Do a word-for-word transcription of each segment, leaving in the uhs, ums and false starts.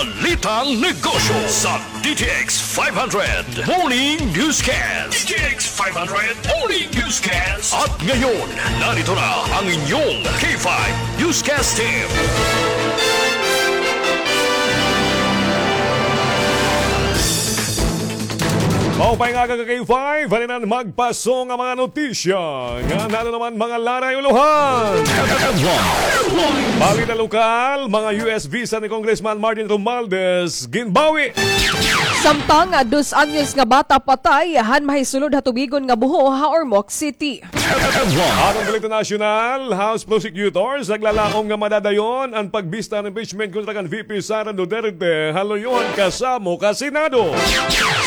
Balitang Negosyo sa D T X five hundred Morning Newscast. D T X five hundred Morning Newscast. At ngayon, narito na ang inyong K five Newscast Team. Maupay nga aga, K five, halinan magpaso nga mga notisya nga nano naman mga laray ulohan. Balita lokal, mga U S visa ni Congressman Martin Romualdez ginbawi. Samtang, ah, dos anyos nga bata patay han mahisulod ha tubigon nga buho ha Ormoc City. Aton balita nasyonal, House prosecutors naglalaom nga madadayon an pagbista han impeachment kontra kan V P Sara Duterte ha luyo han kasamo ka Senado.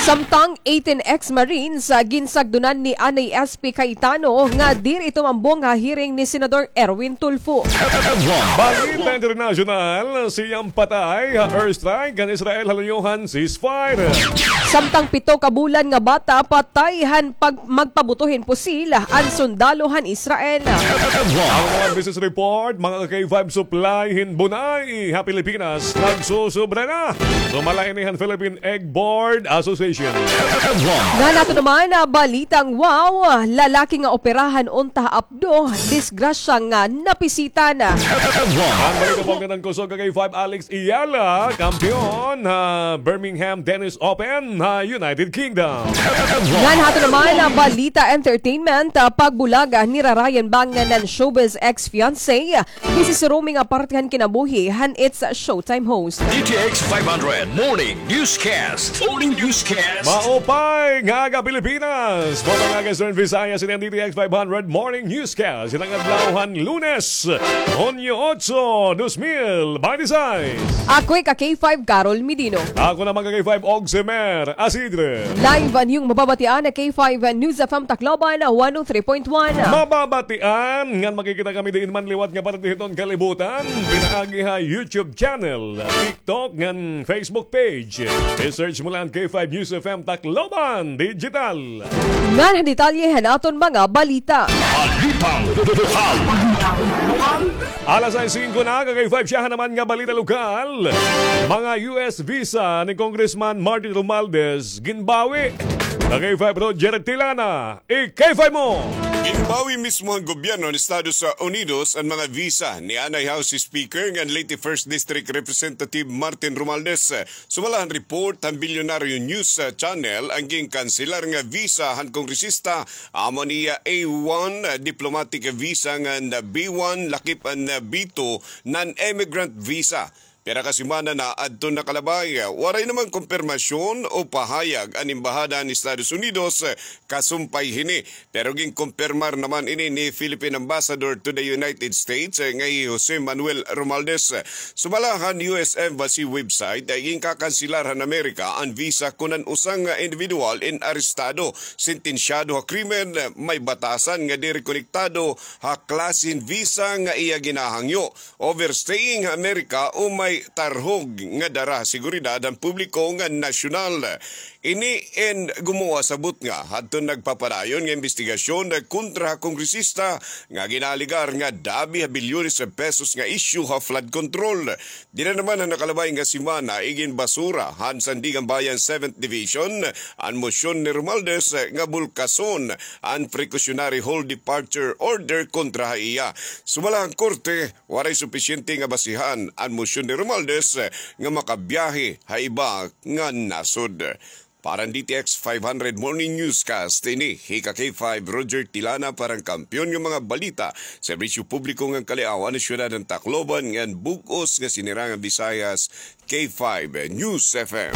Samtang eighteen ex-Marines, ah, ginsagdonan ni Anay S P Cayetano nga diri tumambong ha hearing ni Senador Erwin Tulfo. Balita internasyonal, siyam patay ha airstrike kan Israel ha luyo han ceasefire. Samtang pito ka bulan nga bata patay han pag-, magpabuto hin pusil an sundalo han Israel. Ang mga business report, mga K five, supply hin bunay ha Pilipinas nagsusobra na. Sumala ini han Philippine Egg Board Association. Ngan ato naman, ah, balitang wow, lalaki nga operahan unta ha Apdo, disgrasya nga napisita na. Ang balita pagkatang kusog ka K five, Alex Eala, kampiyon ha Birmingham Tennis Open ha United Kingdom. Ngan ato naman, ah, balita entertainment, ah, pagbulag, ah, nira Ryan Bang ngan han showbiz ex-fiancé. Busy si Romy nga parte han kinabuhi han It's Showtime host. D T X five hundred Morning Newscast. Morning Newscast. Maupay nga aga, Pilipinas. Maupay nga aga, Eastern Visayas. Ini an D T X five hundred Morning Newscast. Ini an adlaw han Lunes, Hunyo otso, dos mil binte seis. Ako hi ka K five, Carol Medino. Ako naman ka K five, Ogsemer Asidre. Live an iyong mababatian ha K five News F M Tacloban, one oh three point one. Mababatian ngan makikita kami diin man liwat nga parte hiton kalibutan. Pinaagi ha YouTube channel, TikTok, ngan Facebook page. I-search mo la an K five News F M Tacloban Digital. Ngan han detalye han aton mga balita. Balitang lokal. Alas sais singko na, ka K five, siyahan naman nga balita lokal. Mga U S visa ni Congressman Martin Romualdez ginbawi. Ka K five, Roger Tilana, i-K five mo. Ginbawi mismo han gobyerno han Estados Unidos an mga visa ni anay House Speaker ngan late First District Representative Martin Romualdez. Sumala han report han Bilyonaryo News, ah, Channel, an ginkanselar nga visa han kongresista amo an iya A one, ah, diplomatic visa ngan B one, lakip an, ah, B two, non-immigrant visa. Pira ka semana na adton nakalabay, waray naman kumpirmasyon o pahayag an Embahada han Estados Unidos, ah, kasumpay hini. Pero ginkumpirmar naman ini ni Philippine Ambassador to the United States, eh, nga hi Jose Manuel Romualdez. Sumala han U S Embassy website, eh, ginkakanselar han Amerika an visa kon an usa nga individual in arestado, sentensyado ha krimen, eh, may batasan nga diri konektado ha klase hin visa nga iya ginahangyo, overstaying ha Amerika o may tarhog nga dara ha seguridad han publiko ngan nasyonal. Ini in gumuwa sa butnga hadton nagpapadayon nga imbestigasyon kontra ha kongresista nga ginaalegar nga dabi ha bilyones ha pesos nga isyu ha flood control. Dida naman ha nakalabay nga semana, iginbasura han Sandiganbayan Seventh Division an mosyon ni Romualdez nga bulkason an precautionary hold departure order kontra ha iya. Sumala han korte, waray supisyente nga basihan an mosyon ni Romualdez nga makabiyahe ha iba nga nasod. Para han D T X five hundred Morning Newscast, ini hi ka K five Roger Tilana para han kampiyon nga mga balita, serbisyo publiko ngan kaliaw han syudad han Tacloban ngan bug-os nga sinirangan Visayas, K five News F M.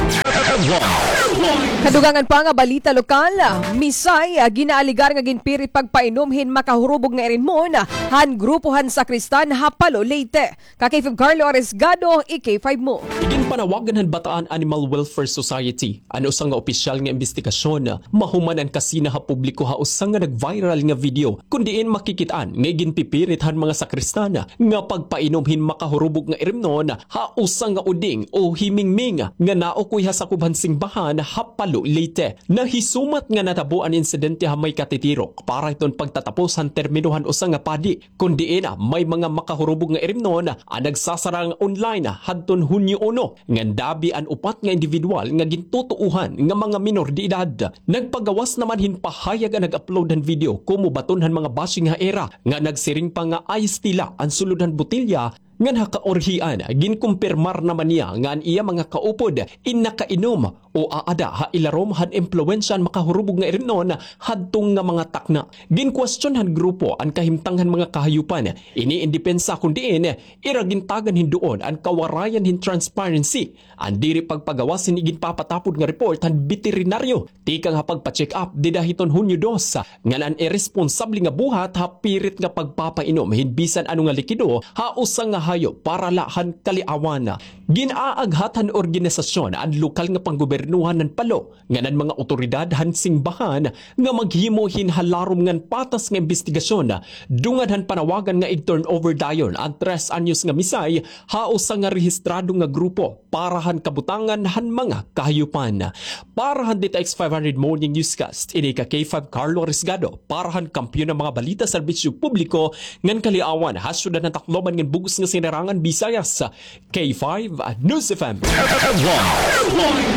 Kadugangan pa nga balita lokal, misay, ah, ginaalegar nga ginpirit pagpainom hin makahurubog nga irinmon han grupo han sakristan ha Palo, Leyte. Ka K five Carlo Arisgado, i-K five mo. Iginpanawagan han Bataan Animal Welfare Society an usa nga opisyal nga imbestigasyon mahuman an kasina ha publiko ha usa nga nag-viral nga video kon diin makikit-an nga iginpipirit han mga sakristan nga pagpainom hin makahurubog nga irimnon ha usa nga uding o himingming nga naukoy ha sakob han simbahan ha Palo, Leyte. Nahisumat nga natabo an insidente ha may katitirok para hiton pagtatapos han termino han usa nga padi, kon diin may mga makahurubog nga irimnon an nagsasarang online hadton Hunyo uno, ngan dabi an upat nga indibidwal nga gintutuohan nga mga minor de edad. Nagpagawas naman hin pahayag an nag-upload han video komo baton han mga bashing ha ira, nga nagsiring pa nga ayos tila an sulod han botelya. Ngan ha kaurhian, ginkumpirmar naman niya nga an iya mga kaupod in nakainom o aada ha ilarom han impluwensya han makahurubog nga irimnon hadto nga mga takna. Ginkwestiyon han grupo an kahimtang han mga kahayupan ini in depensa, kon diin ira gintagan hin duon an kawarayan hin transparency, an diri pagpagawas hin iginpapatapod nga report han beterinaryo tikang ha pagpa-check up dida hiton Hunyo dos, ngan an iresponsable nga buhat ha pirit nga pagpapainom hin bisan ano nga likido ha usa nga hayop para la han kaliawan. Gin-aaghat han organisasyon an lokal nga panggobernohan han Palo ngan an mga awtoridad han simbahan nga maghimo hin halarom ngan patas nga imbestigasyon, dungan han panawagan nga ig-turnover dayon an tres anyos nga misay ha usa nga rehistrado nga grupo para han kabutangan han mga kahayupan. Para han D T X five hundred Morning Newscast, ini ka K five Carlo Arriesgado, para han kampiyon nga mga balita, serbisyo publiko, ngan kaliawan ha syudad han Tacloban ngan bug-os nga Sinirangan Visayas, K five News F M.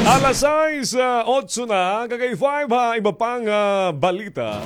Alas sais, ah, otso na, ka K five ha iba pang, ah, balita.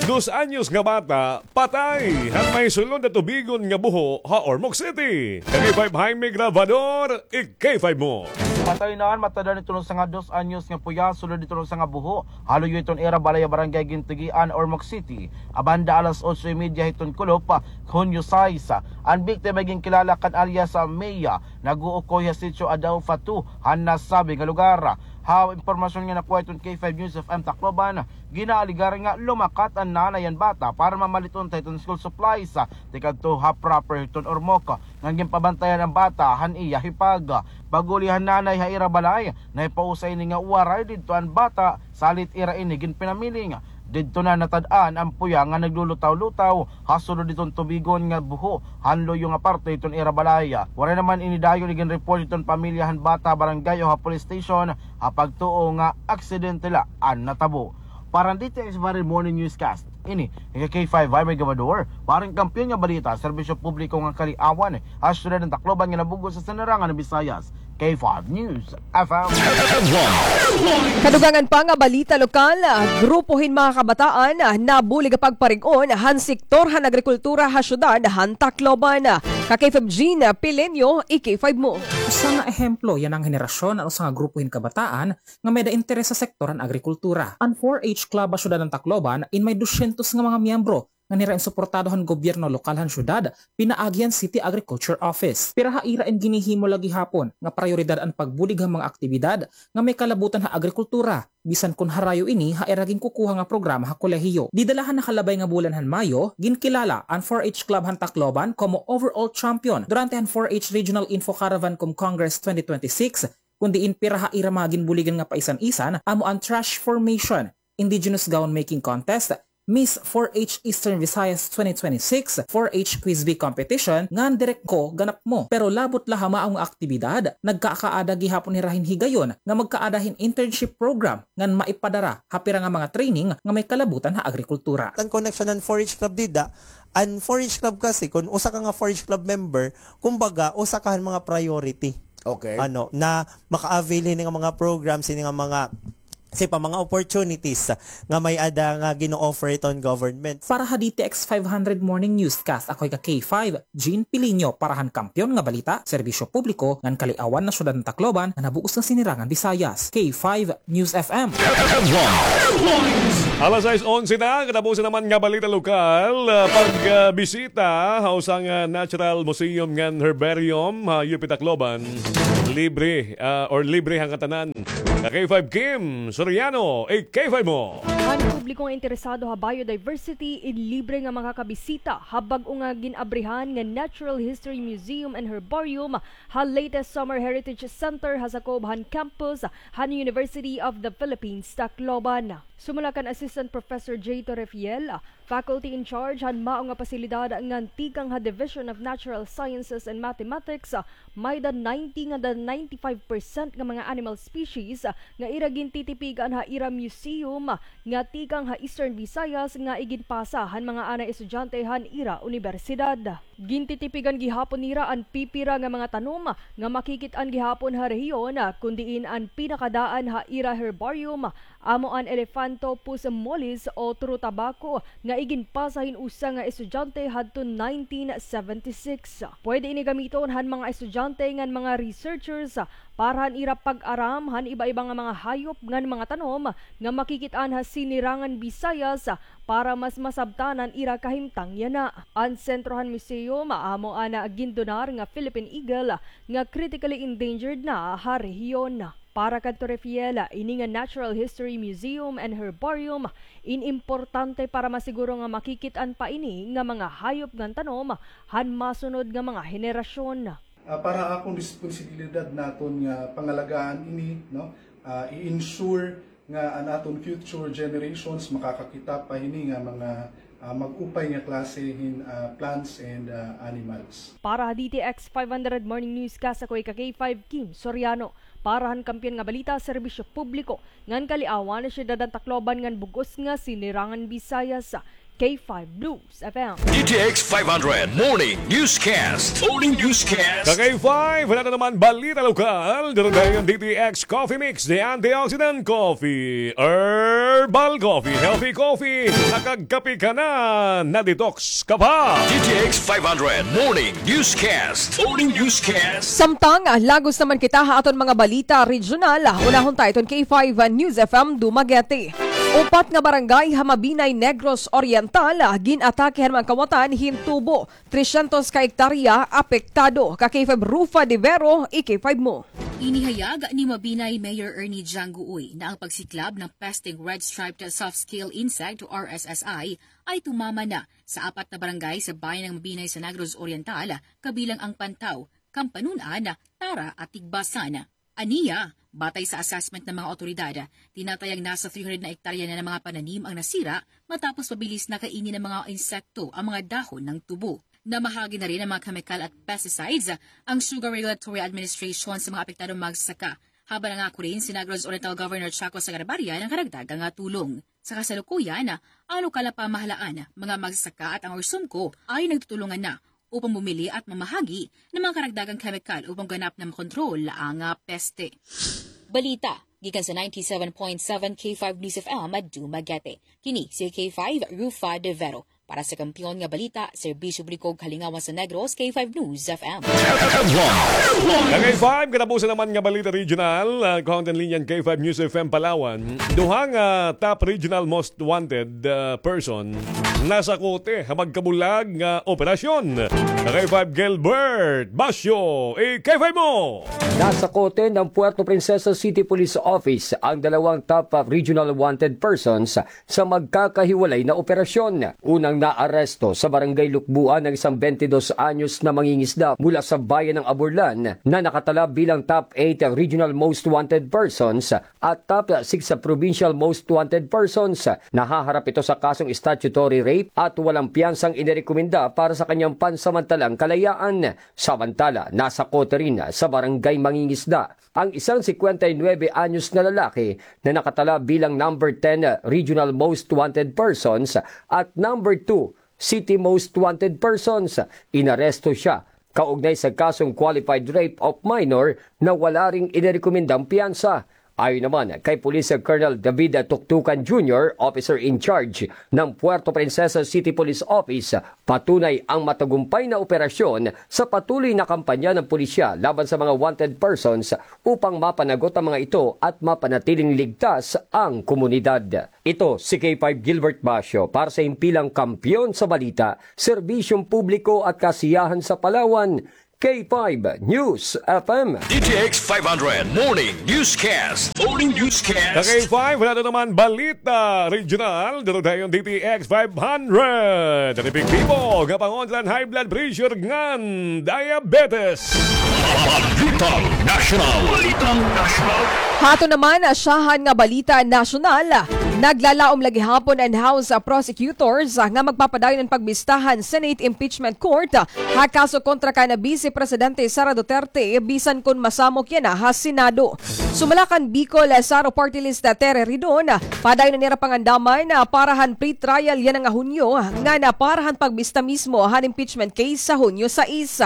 Dos anyos nga bata, patay han may sulod ha tubigon nga buho ha Ormoc City. Ka K five Jaime Grabador, i-K five mo. Patay na an matad-an hiton usa nga dos anyos nga puya sulod hiton usa nga buho ha luyo hiton ira balay ha Barangay Gintigian, Ormoc City, ha banda alas otso y media hiton kulop, Hunyo sais. An biktima ginkilala kan alias, ah, Mia, nag-uukoy ha Sitio Adaufa two han nasabi nga lugar. Ha impormasyon nga nakuha hiton K five News F M Tacloban, ginaalegar nga lumakat an nanay han bata para mamalit unta hiton school supplies, ah, tikadto ha proper hiton Ormoc, ngan ginpabantayan an bata han iya hipag. Pag-uli han nanay ha ira balay, nahipausay ini nga waray didto an bata, salit ira ini ginpinamiling. Didto na natad-an an puya nga naglulutaw-lutaw ha sulod hiton tubigon nga buho han luyo nga parte hiton ira balay. Waray naman ini dayon iginreport hiton pamilya han bata ha barangay o ha police station ha pagtuo nga aksidente la an natabo. Para han D T X Viral Morning Newscast, ini hi K five Jaime Grabador, para han kampiyon nga balita, serbisyo publiko ngan kaliawan, ha syudad han Tacloban ngan han bug-os nga Sinirangan Visayas, K five News F M. Kadugangan pa nga balita lokal, grupo hin mga kabataan nabulig ha pagparig-on han sektor han agrikultura ha syudad han Tacloban. Ka K five Jean Pileño, i-K five mo. Usa nga ehemplo yana nga henerasyon an usa nga grupo hin kabataan nga may-ada interes ha sektor han agrikultura. An four H Club ha syudad han Tacloban in may dosyentos nga mga miyembro ngan hira in suportado han gobyerno lokal han syudad, pinaagi han City Agriculture Office. Pira ha ira in ginhihimo la gihapon nga prayoridad an pagbulig han mga aktibidad nga may kalabutan ha agrikultura, bisan kon harayo ini ha ira ginkukuha nga programa ha kolehiyo. Dida la han nakalabay nga bulan han Mayo, ginkilala an four H Club han Tacloban komo overall champion durante han four H Regional Info Caravan cum Congress twenty twenty-six, kon diin pira ha ira mga ginbuligan nga paisan-isan amo an Trash Formation, Indigenous Gown Making Contest, Miss four H Eastern Visayas twenty twenty-six, four H Quiz Bee Competition, ngan Direct Ko Ganap Mo. Pero labot la ha mao nga aktibidad, nagkakaada gihapon hira hin higayon nga magkaada hin internship program ngan maipadara ha pira nga mga training nga may kalabutan ha agrikultura. An connection han four H Club dida, an four H Club kasi, kon usa ka nga four H Club member, kumbaga, usa ka han mga priority. Okay. Ano, na maka-avail hini nga mga programs, hini nga mga, say pa, mga opportunities nga may-ada nga gino-offer hiton government. Para ha D T X five hundred Morning Newscast, ako hi ka K five, Jean Pileño, para han kampiyon nga balita, serbisyo publiko, ngan kaliawan ha syudad han Tacloban, ngan ha bug-os nga Sinirangan Visayas, K five News F M. Alas sais onse na, katapusan naman nga balita lokal, ah, pag, ah, bisita ha usa nga, ah, Natural Museum ngan Herbarium ha U P Tacloban. Libre, ah, or libre han ngatanan. Ka K five Kim Soriano, i-K five mo. An publiko nga interesado ha biodiversity in libre nga makakabisita ha bag-o nga gin-abrihan nga Natural History Museum and Herbarium ha Leyte Summer Heritage Center ha sakob han campus han University of the Philippines, Tacloban. Sumala kan Assistant Professor Jay Torrefiel, faculty in charge han mao nga pasilidad ngan tikang ha Division of Natural Sciences and Mathematics, may-ada ninety nga ninety-five percent nga mga animal species nga ira gintitipigan ha ira museum nga tikang ha Eastern Visayas nga iginpasa han mga anay estudyante han ira unibersidad. Gintitipigan gihapon nira an pipira nga mga tanom nga makikit-an gihapon ha rehiyon, kun diin an pinakadaan ha ira herbarium amo an Elephantopus mollis o turu tabaco nga iginpasa hin usa nga estudyante hadton nineteen seventy-six. Pwede ini gamiton han mga estudyante ngan mga researchers para han ira pag-aram han iba-iba nga mga hayop ngan mga tanom nga makikit-an ha Sinirangan Visayas para mas masabtan an ira kahimtang yana. An sentro han museum amo an gindonar nga Philippine Eagle nga critically endangered na ha rehiyon. Para kan Torrefiel, ini nga Natural History Museum and Herbarium in importante para masiguro nga makikit-an pa ini nga mga hayop ngan tanom han masunod nga mga henerasyon. Ah, para akon responsibilidad naton nga pangalagaan ini, no? Ah, i-ensure nga an aton future generations makakakita pa hini nga mga, ah, mag-upay nga klase hin, ah, plants and, ah, animals. Para ha D T X five hundred Morning Newscast, ako ika K five Kim Soriano. Para han Kampiyon nga Balita, Serbisyo Publiko ngan Kaliawan, Syudad han Tacloban ngan bug-os nga Sinirangan Visayas, K five News F M. D T X five hundred Morning Newscast. Morning Newscast. Ka K five, wala na naman balita lokal. Dito tayo yung D T X Coffee Mix, the antioxidant coffee, herbal coffee, healthy coffee. Nakagkape ka na, na-detox ka pa. D T X five hundred Morning Newscast. Morning Newscast. Samtang, ah, lagos naman kita ha aton mga balita regional. Unahon ta iton K five, ah, News F M Dumaguete. Upat nga barangay ha Mabinay, Negros Oriental, ah, gin-atake han mga kawatan hin tubo. Tresyentos ka ektarya apektado. Ka K five Rufa de Vero, i-K five mo. Inihayag ni Mabinay Mayor Ernie Janggoy na ang pagsiklab ng pesteng red-striped soft-scale insect o R S S I ay tumama na sa apat na barangay sa bayan ng Mabinay sa Negros Oriental, kabilang ang Pantaw, Kampanunan, Tara at Tigbasan. Aniya, batay sa assessment ng mga awtoridad, tinatayang nasa three hundred na ektarya na ng mga pananim ang nasira matapos mabilis na kainin ng mga insekto ang mga dahon ng tubo. Namahagi na rin ng mga kemikal at pesticides ang Sugar Regulatory Administration sa mga apektadong magsasaka, habang nangako rin si Negros Oriental Governor Chaco Sagarbarria ng karagdagang tulong. Sa kasalukuyan, ang lokal na pamahalaan, mga magsasaka at ang Orsumco ay nagtutulungan na upang bumili at mamahagi ng mga karagdagang kemikal upang ganap na makontrol ang, ah, peste. Balita gikan sa ninety-seven point seven K five News F M Dumaguete. Kini si K five Rufa de Vero. Para sa Kampiyon nga Balita, Serbisyo Publiko, Kalingawan sa Negros, K five News F M. Ka K five, katapusan naman nga balita regional, ah, kuhang tan linya an K five News F M Palawan. Duha nga top regional most wanted, ah, person nasakote ha magkabulag nga operasyon. Ka K five Gilbert Basyo, i-K five mo! Nasakote ng Puerto Princesa City Police Office ang dalawang top, ah, regional wanted persons sa magkakahiwalay na operasyon. Unang naaresto sa Barangay Lukbuan ang isang bente dos anyos na mangingisda mula sa bayan ng Aburlan na nakatala bilang top eight regional most wanted persons at top six sa provincial most wanted persons. Nahaharap ito sa kasong statutory rape at walang piyansang inirekomenda para sa kanyang pansamantalang kalayaan. Samantala, nasakote rin sa Barangay Mangingisda ang isang singkwenta y nuwebe anyos na lalaki na nakatala bilang number ten regional most wanted persons at number two city most wanted persons. Inaresto siya kaugnay sa kasong qualified rape of minor na wala ring inirekomendang piyansa. Ayon naman kay Police Colonel David Tuktukan Junior, officer in charge ng Puerto Princesa City Police Office, patunay ang matagumpay na operasyon sa patuloy na kampanya ng pulisya laban sa mga wanted persons upang mapanagot ang mga ito at mapanatiling ligtas ang komunidad. Ito si K five Gilbert Basyo para sa himpilang kampiyon sa balita, serbisyong publiko at kasiyahan sa Palawan, K five News F M. D T X five hundred Morning Newscast. Morning Newscast. Ka K five, wala na naman balita regional. Dito tayo ang D T X five hundred. Ang epektibo nga pangontra han high blood pressure ngan diabetes. Balitang National. Balitang National. Hato naman, syahan nga balita nasyonal. Naglalaom la gihapon an House Prosecutors nga magpapadayon an pagbista han Senate Impeachment Court ha kaso kontra kan Vice Presidente Sara Duterte bisan kon masamok yana ha Senado. Sumala kan Bicol Saro Party List Terry Ridon, padayon na nira pangandaman para han pre-trial yana nga Hunyo ngan para han pagbista mismo han impeachment case sa Hunyo sais.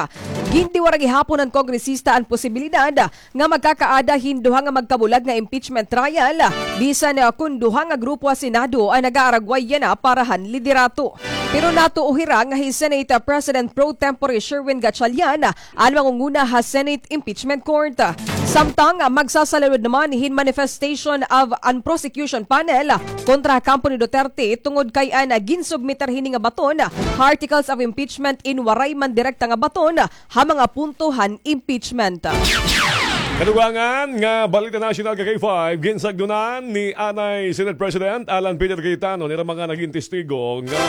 Gindiwara gihapon han kongresista an posibilidad nga magkakaada hin duha nga magkabulag nga impeachment trial, bisan, ah, kon duha nga grupo ha Senado an nag-aaragway yana para han liderato. Pero natuo hira nga hi Senate, ah, President pro tempore Sherwin Gatchalian, ah, an mangunguna ha Senate Impeachment Court. Samtang, ah, magsasalawod naman hin manifestation of an prosecution panel, ah, kontra ha kampo ni Duterte tungod kay an, ah, ginsubmitar hini nga baton, ah, articles of impeachment in waray man direkta nga baton, ah, ha mga punto han impeachment. Kadugangan nga balita nasyonal ka K five, ginsagdonan ni anay Senate President Alan Peter Cayetano nira mga nagin testigo nga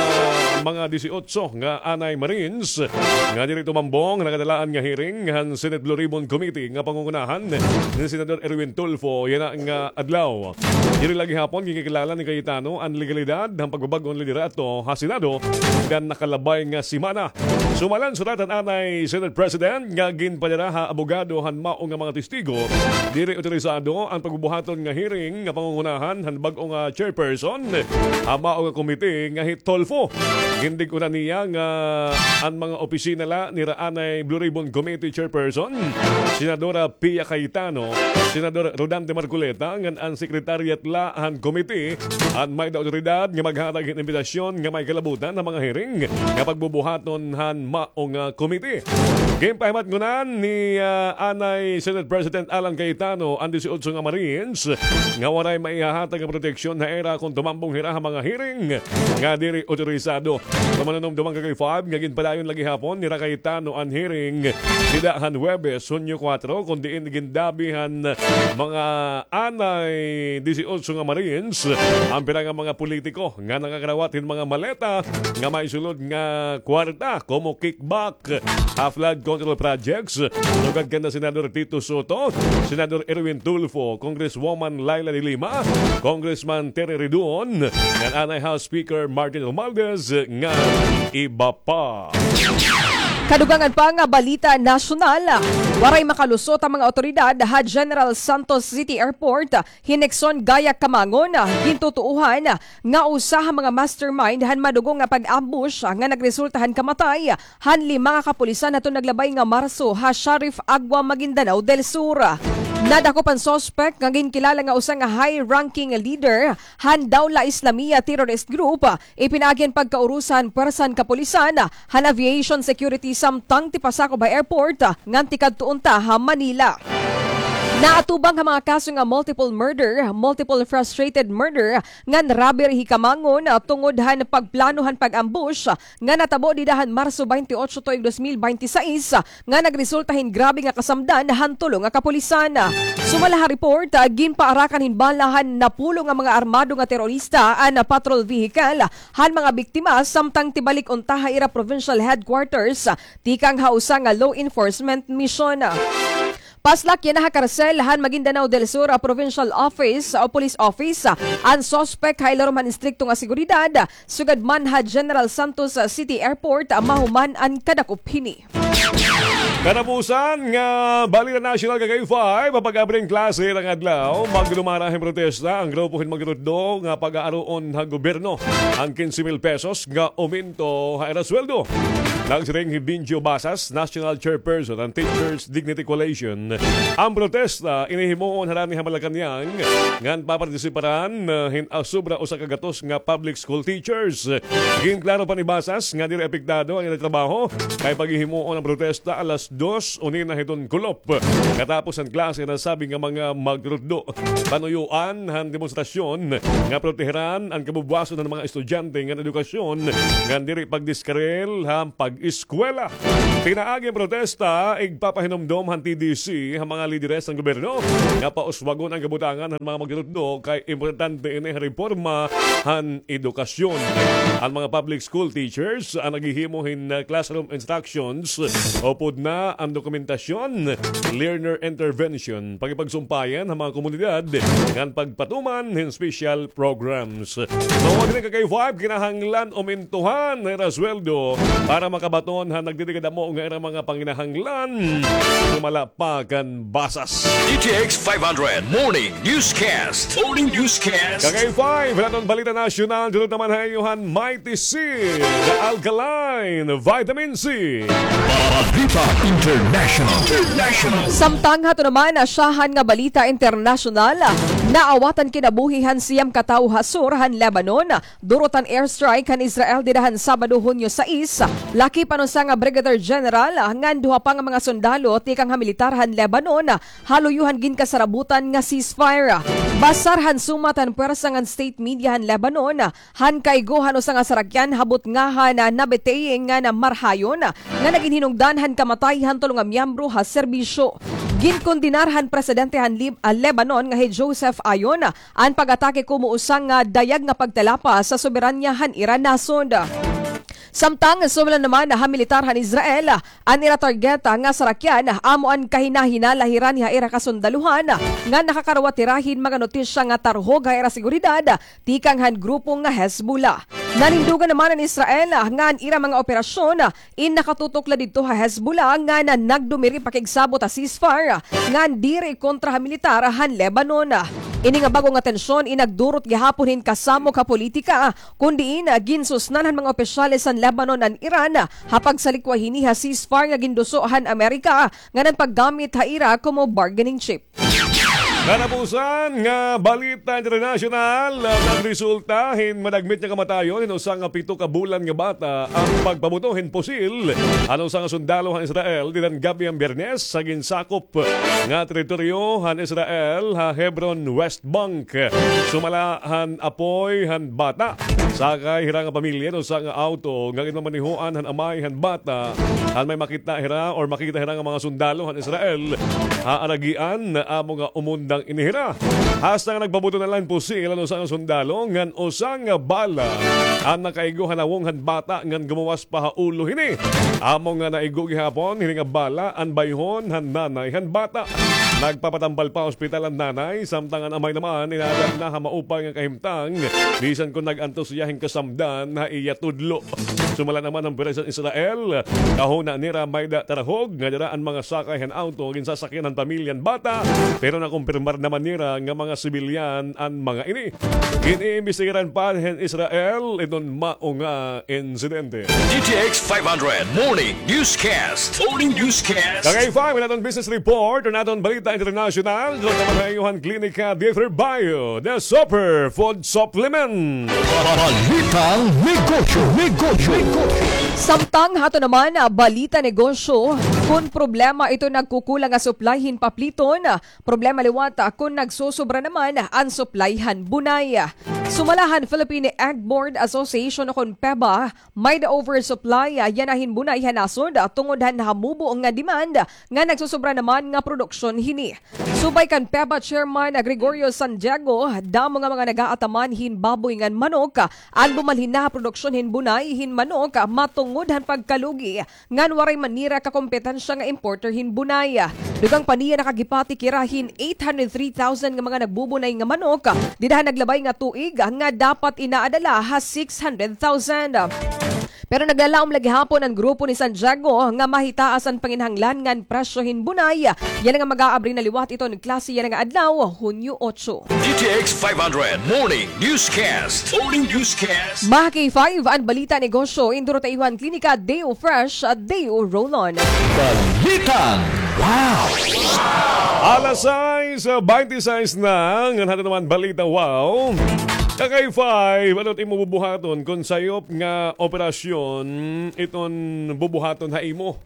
mga disiotso nga anay Marines nga diri tumambong nakadalaan nga hearing han Senate Blue Ribbon Committee nga pangungunahan ni Senador Erwin Tulfo yana nga adlaw. Diri la gihapon ginkikilala ni Cayetano an legalidad han pagbabag-o han liderato ha Senado han nakalabay nga semana. Sumala han surat han anay Senate President nga ginpadara ha abogado han mao nga mga testigo, diri otorisado an pagbubuhaton nga hearing nga pangungunahan han bag-o nga chairperson han mao nga komite nga hi Tulfo. Gindig-on niya nga an mga opisina la nira anay Blue Ribbon Committee Chairperson, Senadora Pia Cayetano, Senador Rodante Marcoleta, ngan an secretariat la han komite an may-ada awtoridad nga maghatag hin imbitasyon nga may kalabutan han mga hearing nga pagbubuhaton han mao nga komite. Ginpahimatngonan ni, ah, anay Senate President Alan Cayetano an disiotso nga Marines nga waray maihahatag nga proteksyon ha ira kon tumambong hira ha mga hearing nga diri otorisado. Sa manunumduman ka K five nga ginpadayon la gihapon nira Cayetano an hearing dida han Huwebes, Hunyo kuwatro, kon diin gindabi han mga anay disiotso nga Marines an pira nga mga politiko nga nakakarawat hin mga maleta nga may sulod nga kwarta komo kickback ha flood control projects. Sugad kanda Senador Tito Soto, Senador Erwin Tulfo, Congresswoman Leila de Lima, Congressman Terry Ridon, ngan anay House Speaker Martin Romualdez, ngan iba pa. Kadugangan pa nga balita nasyonal, waray makalusot an mga awtoridad ha General Santos City Airport hin Nixon Gayak Camangon, gintutuohan nga usa ha mga mastermind han madugo nga pag-ambush nga nagresulta han kamatay han lima nga kapulisan hadton naglabay nga Marso ha Sharif Agua, Maguindanao del Sur. Nadakop an suspect nga ginkilala nga usa nga high-ranking leader han Dawla Islamiyah terrorist group. Ipinaagi an pagkaurusa han puwersa han kapulisan han aviation security samtang tipasakob ha airport ngan tikadto unta ha Manila. Naatubang ha mga kaso nga multiple murder, multiple frustrated murder, ngan robbery hi Camangon, ah, tungod han pagplano han pag-ambush, ah, nga natabo dida han Marso twenty-eight tuig dos mil binte y seis, ah, nga nagresulta hin grabe nga kasamdan han tulo nga kapulisan. Sumala ha report, ah, ginpaarakan hin bala han napulo nga mga armado nga terorista an, ah, patrol vehicle han mga biktima samtang tibalik unta ha ira provincial headquarters, ah, tikang ha usa nga law enforcement mission. Paslak yana ha karsel han Maguindanao del Sur, ah, Provincial Office o Police Office, ah, an suspect ha ilarom han istrikto nga seguridad, sugad man ha General Santos, ah, City Airport, ah, mahuman an kadakop hini. Katapusan nga balita nasyonal ka K five, ha pag-abri hin klase nga adlaw, magdumara hin protesta an grupo hin magrutdo nga pag-aaruon ha gobyerno an kinse mil pesos nga aumento ha ira sweldo. Nagsiring hi Benjo Basas, National Chairperson han Teachers Dignity Coalition, an protesta ini himuon harani ha Malacañang ngan papartisiparan, ah, hin, ah, sobra usa ka gatos nga public school teachers. Ginklaro pa ni Basas nga diri apektado an ira trabaho kay paghihimuon an protesta alas dos unina hiton kulop. Katapos han klase, nasabi nga mga magrutdo, panuyoan han demonstrasyon nga proteheran an kabubuwason han mga estudyante ngan edukasyon ngan diri pagdiskarel han pag eskwela. Pinaagi an protesta, igpapahinumdom han T D C ha mga lideres han gobyerno nga pauswagon an kabutangan han mga magtutudlo kay importante ini ha reforma han edukasyon. An mga public school teachers an naghihimo hin, ah, classroom instructions upod na an dokumentasyon, learner intervention, pakigpagsumpayan ha mga komunidad ngan pagpatuman hin special programs. Tungod hini, ka K five, kinahanglan umintuhan an ira sweldo para makabaton han nagdidikadamo nga ira mga panginahanglan. Sumala pa kan Basas. D T X five hundred Morning Newscast. Morning Newscast. Ka K five, an aton balita nasyonal, durot naman ha iyo han Mighty C, the alkaline vitamin C. Balita International. International. Samtang hato naman, ah, syahan nga balita internasyonal, ah, naawat an kinabuhi han siyam ka tawo ha sur han Lebanon, ah, durot han airstrike han Israel dida han Sabado, Hunyo sais, lakip han usa nga brigadier general, ah, ngan duha pa nga mga sundalo tikang ha militar han Lebanon, ah, ha luyo han ginkasarabutan nga ceasefire. Basar han sumat han pwersa ngan state media han Lebanon, ah, han kaigo han usa nga sarakyan ha butngahan na nabitay ngan marhayon nga nagin hinungdan han kamatay han tulo nga miyembro ha serbisyo. Ginkondenar han presidente han Lib-, ah, Lebanon nga hi Joseph Aoun an pag-atake komo usa nga dayag nga pagtalapas sa soberanya han ira nasod. Samtang sumala naman ha militar han Israel, an ira target nga sarakyan amo an kahinahinala hira ni ha ira kasundaluhan nga nakakarawat hira hin mga notisya nga tarhog ha ira seguridad tikang han grupo nga Hezbollah. Nanindugan naman an Israel nga an ira mga operasyon in nakatutok la didto ha Hezbollah ngan nagdumiri pakigsabot ha ceasefire ngan diri kontra ha militar han Lebanon. Ini nga bag-o nga tensyon in nagdurot gihapon hin kasamok ha politika, kon diin ginsusnan han mga opisyales han Lebanon an Iran ha pagsalikwa hini ha ceasefire nga ginduso han Amerika ngan an paggamit ha ira komo bargaining chip. Katapusan nga balita internasyonal, nagresulta hin madagmit nga kamatayon hin usa nga pito ka bulan nga bata an pagpabuto hin pusil han usa nga sundalo han Israel dida han gab-i han Biyernes sa ginsakop nga teritoryo han Israel ha Hebron, West Bank. Sumala han apoy han bata, sakay hira nga pamilya hin usa nga auto nga ginmamanehoan han amay han bata. An may makita hira or makita hira nga mga sundalo han Israel ha aragian, amo nga umundang ini hira. Hasta nga nagpabuto na la hin pusil an usa nga sundalo ngan usa nga bala an nakaigo ha nawong han bata ngan gumuwas pa ha ulo hini. Amo nga naigo gihapon hini nga bala an bayhon han nanay han bata. Nagpapatambal pa ha ospital an nanay, samtang an amay naman inaadal na ha maupay nga kahimtang bisan kon nag-antos hiya hin kasamdan ha iya tudlo. Sumala naman han puwersa han Israel, kahuna nira mayda tarhog nga dira an mga sakay han auto ginsasakyan han pamilya han bata, pero nakumpirmar naman nira nga mga sibilyan an mga ini. Gin-iimbestigaran pa hin Israel iton mao nga insidente. D T X five hundred Morning Newscast. Morning Newscast. Ka K five, an aton business report, an aton balita internasyonal, durot naman ha iyo han Klinika Dieter Bio, the super food supplement. Balitang negosyo, negosyo, negosyo. Samtang hato naman, ah, balita negosyo, kon problema ito nagkukulang nga supply hin papliton, problema liwat, ah, kon nagsosobra naman an supply han bunay. Sumala han Philippine Egg Board Association o kon PEBA, may-da oversupply yana hin bunay ha nasod tungod han hamubo nga demand nga nagsosobra naman nga produksyon hini. Subay kan PEBA Chairman Gregorio Santiago, damo nga mga nag-aataman hin baboy ngan manok an bumalhin na ha produksyon hin bunay hin manok matungod han pagkalugi ngan waray man nira kakompetensya nga importer hin bunay. Dugang pa niya, nakaghipatik hira hin eight hundred three thousand nga mga nagbubunay nga manok dida han naglabay nga tuig nga dapat inaada la ha six hundred thousand. Pero naglalaom la gihapon an grupo ni Santiago nga mahitaas an panginahanglan ngan presyo hin bunay yana nga mag-aabri na liwat iton klase yana nga adlaw, Hunyo otso. D T X five hundred Morning Newscast. Morning Newscast. Mga K five, an balita negosyo, indurot ha iyo han Klinika Deo Fresh, Deo Roll-On. Balitang Wow! Alas sais, ah, baynte sais na, ngan hato naman balita wow. Ka K five, ano it imo bubuhaton kon sayop nga operasyon iton bubuhaton ha imo?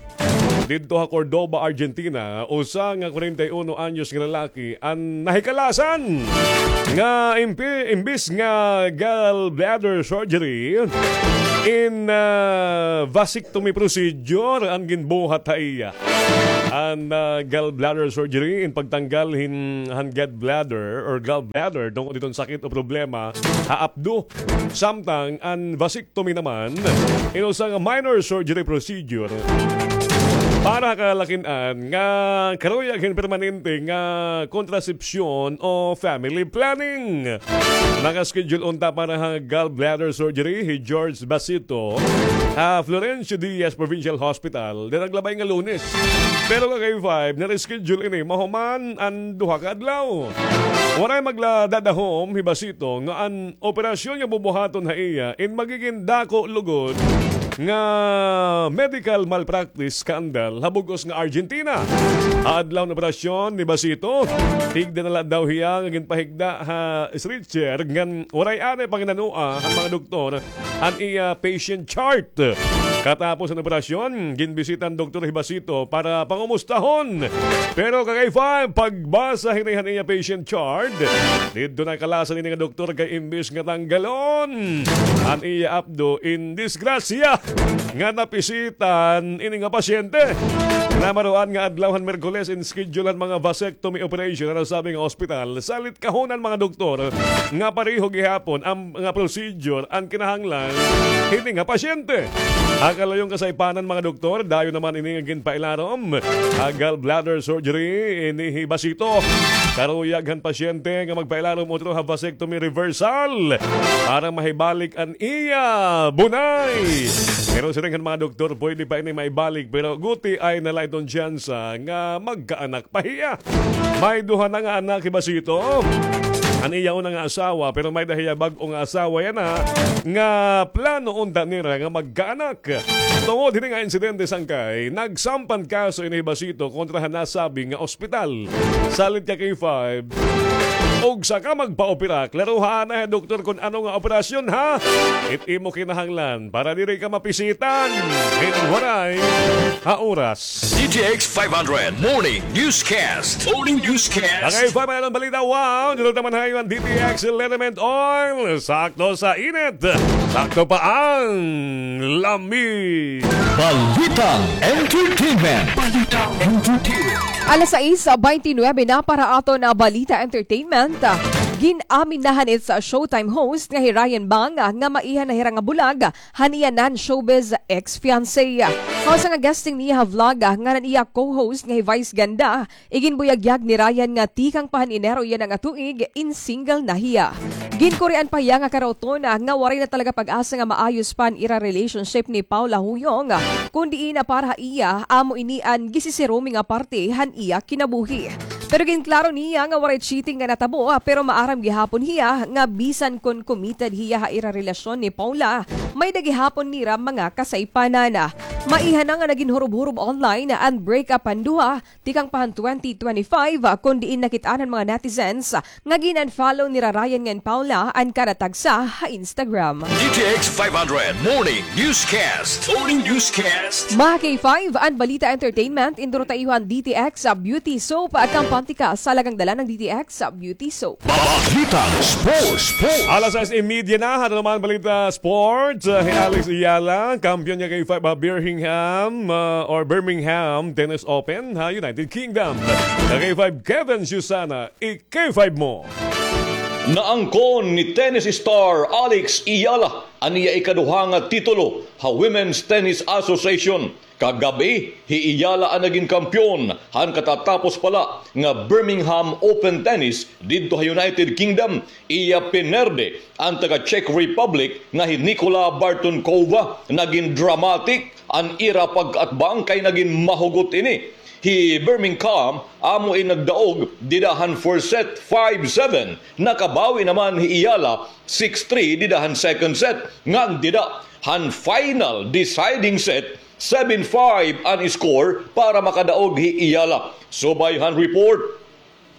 didto ha Cordoba, Argentina, usa nga kwarenta y uno anyos nga lalaki an nahikalasan nga impi-, imbis nga gallbladder surgery, in, ah, vasectomy procedure an ginbuhat ha iya. An, ah, gallbladder surgery in pagtanggal hin, han gallbladder or gallbladder tungod hiton sakit o problema ha apdo. Samtang an vasectomy naman, in usa nga minor surgery procedure para ha kalakin-an nga karuyag hin permanente nga kontrasepsyon o family planning. Naka-schedule unta para ha gallbladder surgery hi George Basito ha Florencio Diaz Provincial Hospital, dida naglabay nga Lunes. Pero ka K five, na-reschedule ini mahuman an duha ka adlaw. Waray magladadahom hi Basito nga an operasyon nga bubuhaton ha iya in magigin dako lugod nga medical malpractice scandal ha bug-os nga Argentina. Ha adlaw han operasyon ni Basito, higda na la daw hiya nga ginpahigda ha stretcher ngan waray anay panginanoa han mga doktor an iya patient chart. Katapos han operasyon, ginbisita han doktor hi Basito para pangumustahon. Pero ka K five, pagbasa hini han iya patient chart, didto nakalasan ini nga doktor kay imbis nga tanggalon an iya apdo, in disgrasya nga napisitan ini nga pasyente. Namaruan nga adlaw han Miyerkules in schedule an mga vasectomy operation ha nasabi nga ospital. Salit kahon an mga doktor nga pareho gihapon an nga procedure an kinahanglan hini nga pasyente. Ha kalayo han kasaypanan, mga doktor, dayon naman ini nga ginpailarom ha gallbladder surgery ini hi Basito. Karuyag han pasyente nga magpailarom utro ha vasectomy reversal para mahibalik an iya bunay. Pero siring han mga doktor, pwede pa ini maibalik, pero guti ay na la iton tsansa nga magkaanak pa hiya. May duha na nga anak hi Basito. An iya una nga asawa, pero may-ada hiya bag-o nga asawa yana nga plano unta nira nga magkaanak. Tungod hini nga insidente, sangkay, nagsampan kaso ini hi Basito kontra ha nasabi nga ospital. Salit ka K five, og saka magpaopera, klaroha anay ha doktor kon ano nga operasyon, ha? It imo kinahanglan para diri ka mapisitan hin waray ha oras. D T X five hundred Morning Newscast. Morning Newscast. Ang K five, may balita. Wow, dito naman hayo ang D T X Liniment Oil. Sakto sa init. Sakto pa ang lami. Balitang Entertainment. Balitang Entertainment. Alas sais baynte nuwebe na para aton nga Balita Entertainment. Gin-amin na han It's Showtime host nga hi Ryan Bang nga maiha na hira nga bulag han iya non-showbiz ex-fiancé. Ha usa nga guesting niya ha vlog, ah, ngan an iya co-host nga hi Vice Ganda, iginbuyagyag ni Ryan nga tikang pa han Enero yana nga tuig, in single na hiya. Ginkurian pa hiya nga karauton, ah, nga waray na talaga pag-asa nga maayos pa an ira relationship ni Paula Huyong, ah, kun diin na para ha iya, amo ini an gisisirumi nga parte han iya kinabuhi. Pero ginklaro niya nga waray cheating nga natabo, ah, pero maaram gihapon hiya nga bisan kon committed hiya ha ira relasyon ni Paula, may-ada gihapon nira mga kasaypanan. Maiha na nga nagin hurob-hurob online an breakup han duha, tikang pa han twenty twenty-five, ah, kun diin nakit-an han mga netizens, ah, nga gin-unfollow nira Ryan ngan Paula an kada tagsa ha Instagram. D T X five hundred Morning Newscast. Morning Newscast. Mga K five, an Balita Entertainment, induro ta iyo an D T X, ah, Beauty Soap, ah, kampante ka sa alagang dala ng D T X, ah, Beauty Soap. Balitang Sports. Sports. Alas sais y media na, aton naman balita sports. Ah, hi Alex Eala, kampiyon niya kay five, ah, Birmingham, ah, or Birmingham Tennis Open, ha United Kingdom. Kay five, Kevin Susana, i-K five mo. Naangkon ni tennis star Alex Eala an iya ikaduha nga titulo ha Women's Tennis Association. Kagab-i, hi Eala an nagin kampiyon han katatapos pa la nga Birmingham Open Tennis didto ha United Kingdom. Iya pinerde an taga Czech Republic nga hi Nikola Bartonkova. Nagin dramatic an ira pagkaatbang kay nagin mahugot ini. Hi Birmingham amo in nagdaog dida han first set, five seven. Nakabawi naman hi Eala, six three dida han second set. Ngan dida han final deciding set, seven five an score para makadaog hi Eala. Subay han report,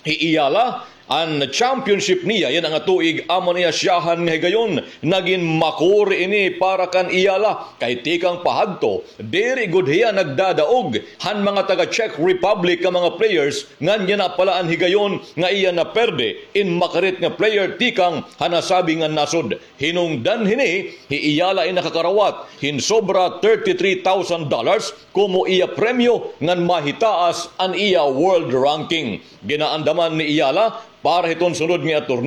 hi Eala An championship niya yana nga tuig amo an iya siyahan nga higayon. Nagin makuri ini para kan Eala kay tikang pa hadto diri gud hiya nagdadaog han mga taga Czech Republic nga mga players, ngan yana pala an higayon nga iya naperde in makarit nga player tikang ha nasabi nga nasod. Hinungdan hini, hi Eala in nakakarawat hin sobra thirty-three thousand dollars komo iya premyo ngan mahitaas an iya world ranking. Ginaandaman ni Eala para hiton sunod nga attorney